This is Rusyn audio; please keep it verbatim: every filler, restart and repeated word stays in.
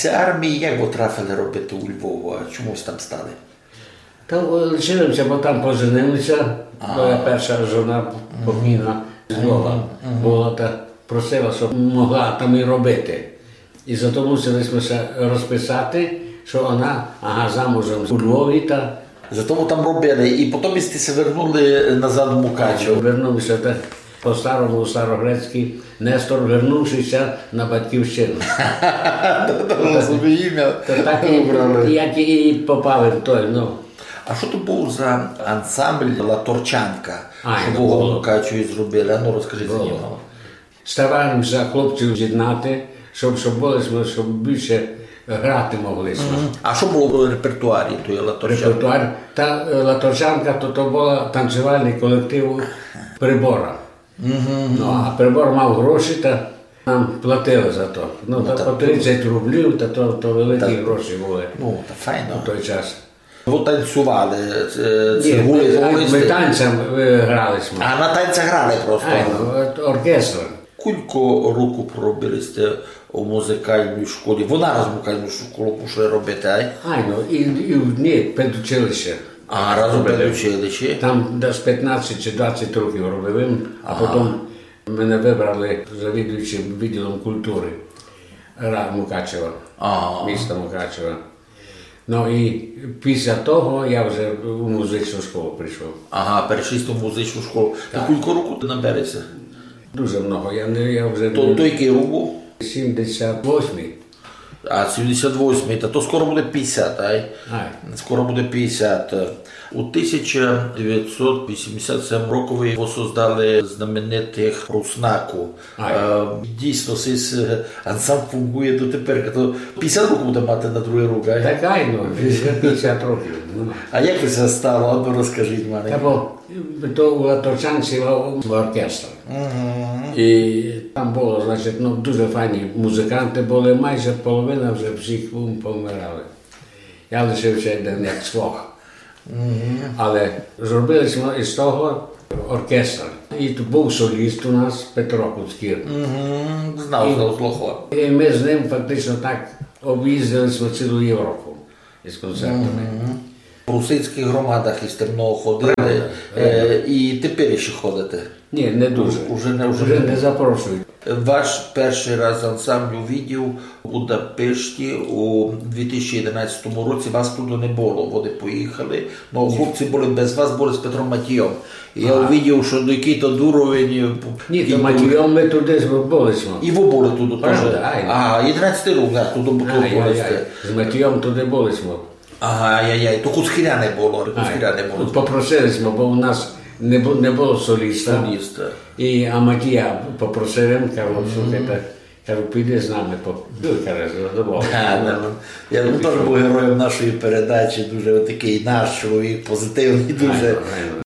Армії як вы трафили робити у Львову, а чому вы там стали? Та, е, лишили ся, бо там поженили ся, моя перша жона покійна з Львова была, та просила, щоб могла там і робити. І зато мусили сьме ся розписати, што она, ага, замужем у Львові, та... Зато вы там робили, і потім сьте ся вернули назад у Мукачево. Вернув ся, та по-старому, у старогрецькій, Нестор, вернувши ся на батьківщину. Розумію. Та так і, як і попав в той, ну. А што то быв за ансамбль Латорчанка, што вы у Мукачеві зробили? А ну, розкажіть за нього. Старали ся хлопців з'єднати, щоб, щоб были сьме, щоб більше грати могли сьме. А што было в репертуарі тої Латорчанки? Репертуар, та, е, Латорчанка, то, то была танцювальный колектив Прибора. Ну, а Прибор мав гроші, та нам платили за то. Ну, та по тридцять рублів, та то, то великі гроші были. Ну, та файно. У той час. Вы танцювали, е, це... Ні, гули, мы, гули мы сте? Танцем, е, грали сьме. А, на танцях грали просто? Ай, ну, от оркестр. Кулько року проробили сте у музикальній школі? Вы нараз музикальну школу пішли робити, ай? Ай, ну, і, і, ні, педучилище. А, разом педучилище. Там десь пятнадцять чи двадцять років робив, а потім мене выбрали завідуючим відділом культуры Ра-, Мукачева, міста Мукачева. Ну і після того я вже у музичну школу прийшов. Ага, перейшли сте в музичну школу. Та кулько року на березі? Дуже много. Я не, я вже... То, то якый рік быв? Сімдесят восьмый. А, сімдесят восьмый, та то скоро буде пятдесят, ай? Ай. Скоро буде пятдесят. У тисяча девятсот вісімдесят сьомому рокови вы создали знаменитых Руснаку. Ай. Е, дійсно, сей, е, ансамбль фунґує дотепер. То пятдесят років буде мати на другый рік, ай? Так, ай, ну, вже пятдесят років, ну. А як то ся стало? А ну, розкажіть мені. Та бо то у Латорчанці мав оркестр. І там было, значить, ну, дуже файні музиканты были, майже половина вже всіх пом-, помирали. Я лишив ся один як цвох. Але зробили сьме із того оркестр. І тут быв соліст у нас Петро Куцкір. Знав, знав, слухав. І мы з ним фактично так об'їздили сьме цілу Європу із концертами. В русинськых громадах сте много ходили, е, і тепер іщи ходите? Ні, не дуже. Уже не, уже не запрошують. Ваш першый раз ансамбль увидів у Будапешті у дві тисячі одинадцятому році. Вас туды не было, вони поїхали. Ну, хлопці были без вас, были з Петром Матійом. І я увидів, што якый то уровень. Ні, то Матійом мы туды были сьме. І вы были туды тоже. Правда, айно. А, одинадцятый рік, так, туды были сте. З Матійом туды были сьме. Ага, ай-яй-яй, то Куцкіра не было, Куцкіра не было. Попросили сьме, бо у нас не бу-, не было соліста. Соліста. І, а Матія попросив, він, кажу, слухайте, кажу, піди з нами, по-, ну, каже, задоволений. Да, да. Я, ну, тоже быв героєм нашої передачі, дуже такый наш чоловік, позитивный, дуже. Айно, айно.